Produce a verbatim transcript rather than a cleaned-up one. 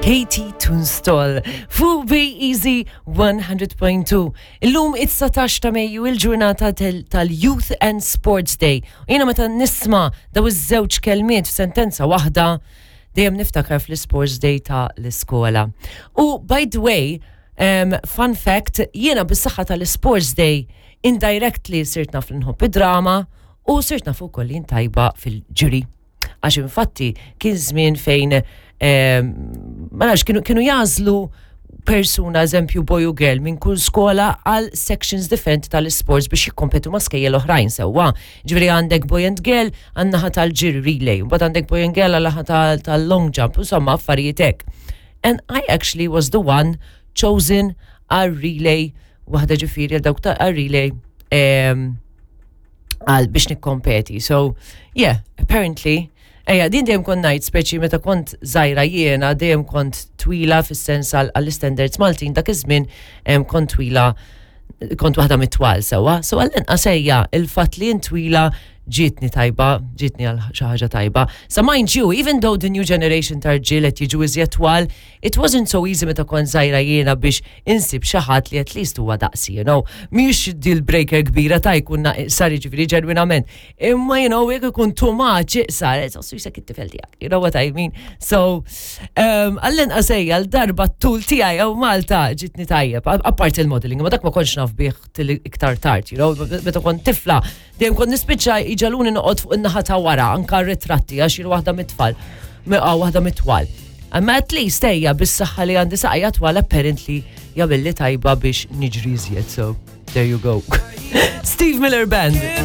K T Tunstall fuq Bay Easy one hundred point two. Illum it-dsatax ta' Mejju, il-ġurnata tal-Youth and Sports Day. U jiena meta nisma' daw iż-żewġ kelmiet f'sentenza waħda, dejjem niftakar fl-Sports Day ta' l-iskola. U by the way, um, fun fact, jiena bis-saħħa tal-Sports Day indirectly sirt naf li nħobb id-drama u sirt naf ukoll li tajba fil-ġiri. Għax infatti kien żmien fejn ma nafx kienu, kienu jagħżlu persuna, eżempju boy u girl, minn kull skola għal sections differenti tal-sports biex jikkompetu ma' skejjel oħrajn, sewwa. Ġifieri għandek boy and girl għan-naħa tal-ġiri relay, mbagħad għandek boy and girl għal tal-long jump, insomma affarijiet hekk. And I actually was the one chosen għal relay, waħda ġifieri għal dawk ta' għal relay għal biex nikkompeti. So, yeah, apparently, ejja, din dejjem kont ngħid, speċi meta kont żgħira jiena dejjem kont twila fis-sens għall-standards Maltin dak iż-żmien, kont twila, kont waħda mit-twal, sewwa. So għall-inqas ejja, il-fatt li twila ġietni tajba, ġietni għal xi ħaġa tajba. So mind you, even though the new generation ta' rġiel qed jiġu iżjed twal, it wasn't so easy meta kont żgħira jiena biex insib xi ħadd li at least huwa daqsi, you know. Mhix deal breaker kbira ta' jkun iqsar, jiġifieri ġenwinament. Imma you know, jekk ikun too much iqsar, it's jisek it-tifel tiegħek. You know what I mean? So, um, għall-inqas ejja l-darba t-tul tiegħi hawn Malta ġietni tajjeb, apart il-modeling, ma dak ma kontx naf bih iktar tard, you know, meta kont tifla, dejjem kont nispiċċa jġagħluni noqgħod fuq in-naħa ta' wara, anka ritratti, għax jien waħda mit-tfal, waħda mit-twal. Imma at least ejja, bis-saħħa li għandi saqajja twal, apparently jagħmilli tajba biex niġri iżjed, so there you go. Steve Miller Band.